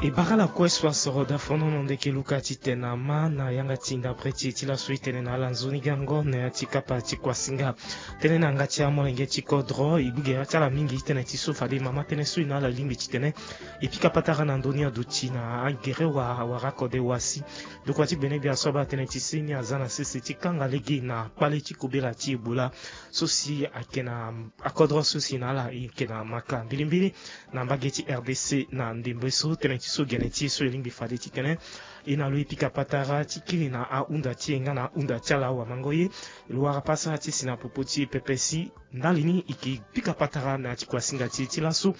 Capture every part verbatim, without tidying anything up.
E bara ala kue so asoro dafonono ndeke luka titene ama na yanga ti ndapre ti e ti laso e tene na ala nzoni gango na ya ti kapa ti kuasinga. Tënë na yanga ti amolenge ti kodro e gbu gere ti ala mingi titene ti so fade mama tënë so e na ala lingbi titene e pika patara na ndö ni aduti na agere wa wara kode wa si. Ndokua ti gbene gbia so abaa tënë ti si ni aza na sese ti kanga lege na kpale ti kobela ti Ebola so si ayeke na akodro so si na ala e yeke na maka mbilimbili na mbage ti R D C na ndembe so tënë ti so gene ti e so e lingbi fade titene e na lo e pika patara ti kiri na ahunda ti e nga na ahunda ti ala awamango ye. Lo wara pasa ti si na popo ti e pepe si ndali ni e ke pika patara na ya ti kuasinga ti e ti laso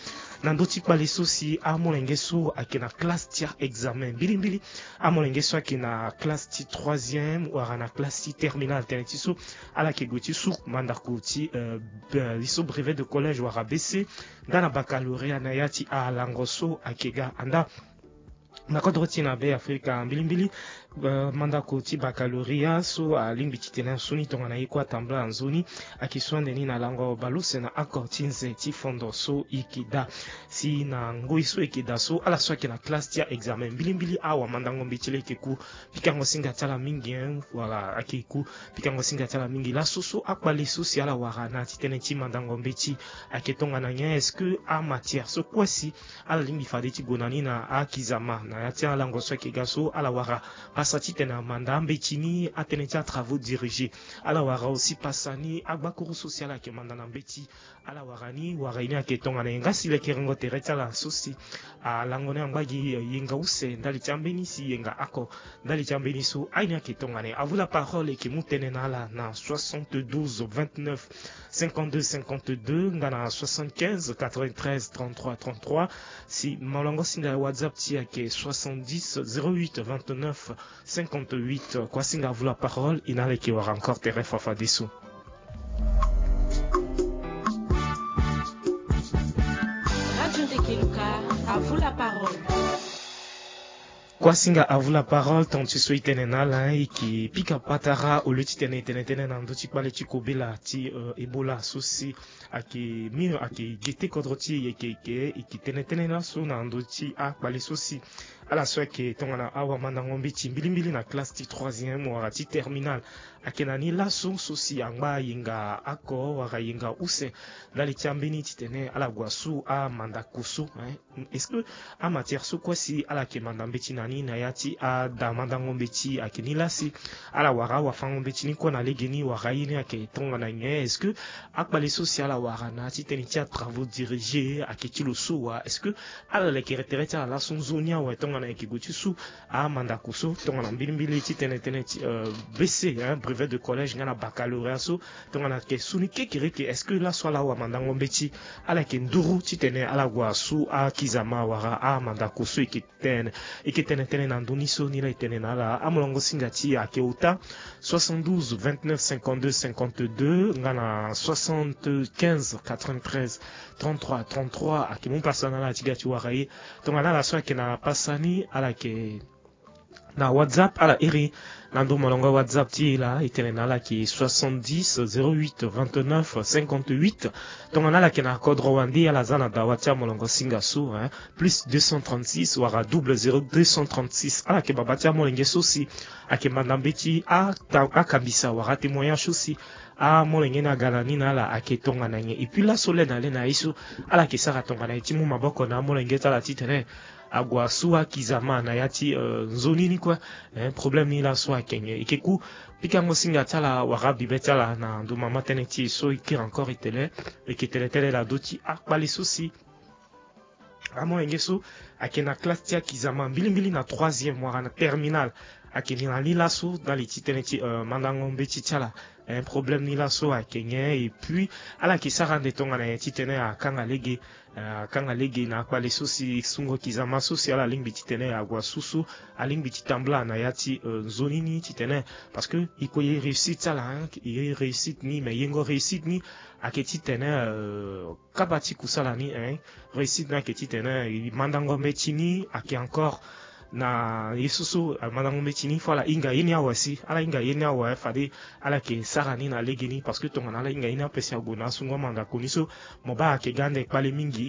na ndö ti kpale so si amolenge so ayeke na classe ti a-examen mbilimbili. Amolenge so ayeke na classe ti troisième wala na classe ti terminale tënë ti so ala yeke gue ti su mandako ti, euh, be- li so brevet de collège wala B C nga na baccalauréat na ya ti alango so ayeke ga anda. Na kodro ti e na Be Afrika mbilimbili, euh, mandako ti baccalauréat so alingbi titene asoni tongana ye kue atambula na nzoni ayeke so ande ni na lango bale use na oko ti nze ti fondo so e yeke daa. Si na ngoi so e yeke daa so ala so ayeke na classe ti a-examen mbilimbili awamandango mbeti laa e yeke ku pikango singa ti ala mingi, hein, wala ayeke ku pikango singa ti ala mingi laso so akpale so si ala wara na ya ti tënë ti mandango mbeti ayeke tongana nyen? Est-ce que amatière so kue si ala lingbi fade ti gue na ni na akizama na ya ti alango so ayeke ga so ala wara pasa titene amanda ambeti ni atënë ti atravaux dirigés? Ala wara aussi pasa ni agbakuru so si ala yeke manda na mbeti ala wara ni wara ye ni ayeke tongana nyen? Nga si lekerengo tere ti ala so si alango ni angba gi yenga use ndali ti ambeni si yenga oko ndali ti ambeni so aye ni ayeke tongana nyen? À vous la parole, e yeke mu tënë na ala na soixante-douze vingt-neuf cinquante-deux cinquante-deux nga na soixante-quinze quatre-vingt-treize trente-trois trente-trois. Si molongo singa WhatsApp ti e ayeke soixante-dix zéro huit vingt-neuf cinquante-huit. Kua singa à vous la parole, e na ala e yeke wara encore tere fafadeso. Radio Ndekeluka, à vous la parole. Kua singa à vous la parole, tonga ti so e tene na ala e yeke pika patara au lieu titene e tene tënë na ndö ti kpale ti kobela ti, euh, Ebola so si ayeke mur ayeke gete kodro ti e, e yeke, e yeke tene tënë laso na ndö ti akpale so si ala so ayeke tongana awamandango mbeti mbilimbili na classe ti troisième wala ti terminale ayeke na ni laso so si angba yenga oko wala yenga use ndali ti ambeni titene ala gue asu amandako so, hein. Est-ce que amatière so kue si ala yeke manda mbeti na ni na ya ti ada mandango mbeti ayeke ni laa si ala wara awafango mbeti ni kue na legeni wala ye ni ayeke tongana nyen? Est-ce que akpale so si ala wara na ya ti tënë ti atravaux dirigés ayeke ti lo so wa? Est-ce que ala lekere tere ti ala laso nzoni awe tongana e yeke gue ti su amandako so tongana mbilimbili ti tene tënë ti, euh, B C, hein, brevet de collège nga na baccalauréat so tongana ayeke su ni kekereke? Est-ce que laso ala awamandango mbeti ala yeke nduru titene ala gue asu akizama wala amandako so e yeke tene, e yeke tene tënë na ndö ni so ni laa e tene na ala? Amolongo singa ti e ayeke ota soixante-douze vingt-neuf cinquante-deux cinquante-deux nga na soixante-quinze quatre-vingt-treize trente-trois trente-trois. Ayeke mu pasa na ala ti ga ti wara ye tongana ala so ayeke na pasa ni ala yeke na WhatsApp, ala iri na ndo molongo WhatsApp ti e laa e tene na ala yeke soixante-dix zéro huit vingt-neuf cinquante-huit. Tongana ala yeke na kodro wande ala za na dawa ti amolongo singa so, hein, plus deux cent trente-six wala double zéro deux cent trente-six. Ala yeke baba ti amolenge so si ayeke manda mbeti ata- akambisa wala atémoignage so si amolenge ni aga na ni na ala ayeke tongana nyen? Et puis laso le na le na ye so ala yeke sara tongana nyen ti mu maboko na amolenge ti ala titene ague asu akizama na ya ti, euh, nzoni ni kue, hein, problème ni laso ayeke nyen? E yeke ku pikango singa ti ala wala abibe ti ala na ndo mama tënë ti e so e kiri encore e tene e yeke tene tënë na ndö ti akpale so si amolenge so ayeke na classe ti akizama mbilimbili na troisième wala na terminale ayeke na ni laso ndali ti tënë ti, euh, mandango mbeti ti ala. Eh, problème ni laso ayeke nyen? Et puis ala yeke sara ande tongana nyen titene akanga lege, eh, akanga lege na akpale so si sungo kizama so si ala lingbi titene ague asusu alingbi ti tambula na ya ti, euh, nzoni ni titene, parce que e ko ye réussite ti ala, hein, e ye réussite ni, mais yengo réussite ni ayeke titene, euh, kapa ti kusala ni, hein, réussite ni ayeke titene e mandango mbeti ni ayeke encore na ye so so, eh, mandango mbeti ni fo ala hinga ye ni awe si ala hinga ye ni awe fade ala yeke sara ni na legeni, parce que tongana ala hinga ye ni ape si ague na asungo amandako ni so mo baa ayeke ga ande kpale mingi.